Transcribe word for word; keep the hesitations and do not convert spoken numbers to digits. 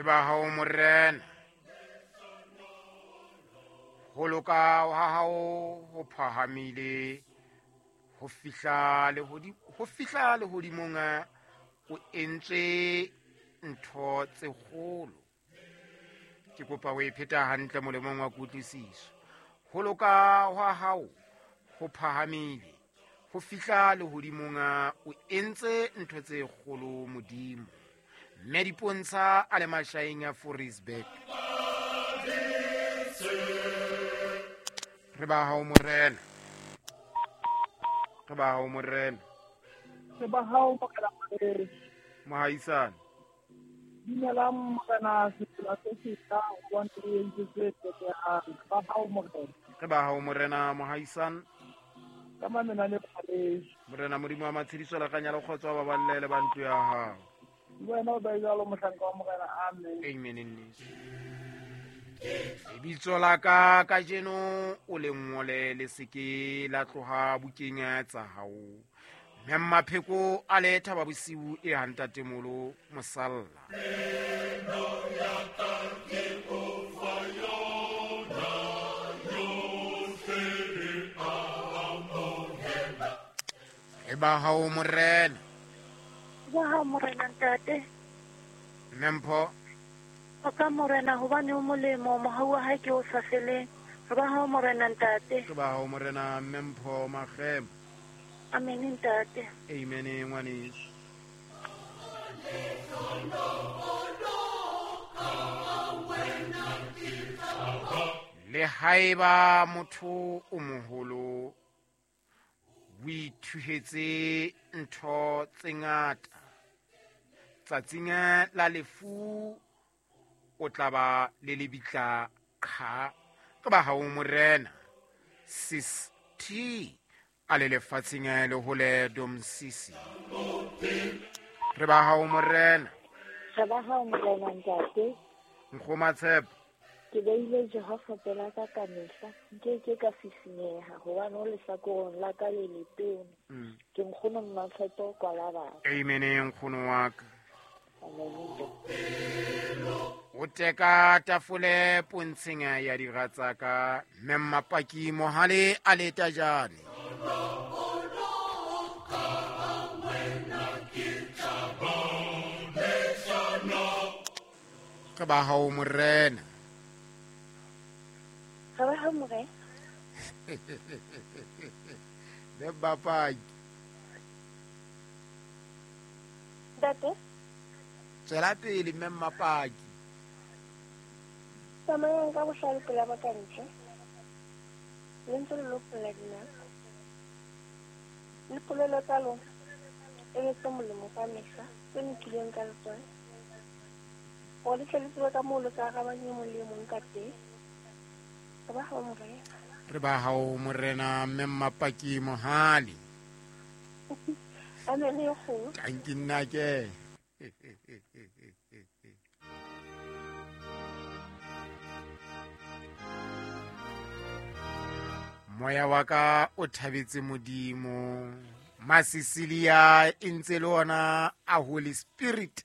Re ba hao Morena. Ho loka ha hao ho phahamile ho fihla lehodimo, ho fihla lehodimong, o entswe ntho tse kgolo. Ke kopa o e pheta hantle molemong wa kutlwisiso. Ho loka ha hao ho phahamile ho fihla lehodimong, o entse ntho tse kgolo Modimo. Mme Dipontsha a le mashaeng a Forisburg. Re ba hao Morena. Re ba hao Morena. Re ba hao Morena. Mohaisane. Dumelang Morena, setsela se setla hobane o entse tse tsotehang. Re ba hao Morena. Re ba hao Morena mohaisane. Ka mamena le phaleso. Morena Modimo wa matshediso le kganya le kgotso ba baballe le ba ntlo ya hao. Le wena o be jwalo mohlanka wa Morena. Amen. Amen. Nneso. Lebitso la ka kajeno o le ngole le se ke la tloha bukeng tsa hao. Mme Mapheko a le thaba bosiu e ha ntatemolo mosalla. Re ba hao Morena. Ba hao Morena ntate. Mme Mpho. O ka Morena hobane o molemo, mohau wa hae ke o sa feleng. Re ba hao Morena ntate. Re ba hao Morena Mme Mpho Makgema. Amen ntate. Amen ngwaneso. Le haeba motho o moholo o ithuhetse ntho tse ngata, tsatsing la lefu o tla ba le lebitla qha. Ke ba hao Morena. Sis T a le lefatsheng le hole Domsisi. Re ba hao Morena. Re ba hao Morena ntate. Nkgoma Tshepo. Ke beile Jehova pela ka kamehla, nke ke ka sisinyeha hobane o lehlakoreng la ka le letona. Ke nkgono Mmatshepo kwala batho. Amen nkgono wa ka. O teka tafole pontsheng ya dira tsa ka, mme Mmapaki Mohale a le tajane. Re ba hao Morena. Re ba hao Morena. Mme Mmapaki. Ntate. Tswela pele mme Mmapaki. Tsamayang ka bohlale pela ba ka ntle. Le ntse le lopolla dinako. Le polelo tsa lona e be tse molemo ka mehla, tse lokileng ka letswai. Hore le tle le tsebe ka moo le ka arabang e mong le e mong ka teng. Re ba hao Morena. Re ba hao Morena mme Mmapaki Mohale. Amen e kgolo. Tanki nna ke. Moya wa ka o thabetse Modimo. Masisilia e ntse le ona a Holy Spirit.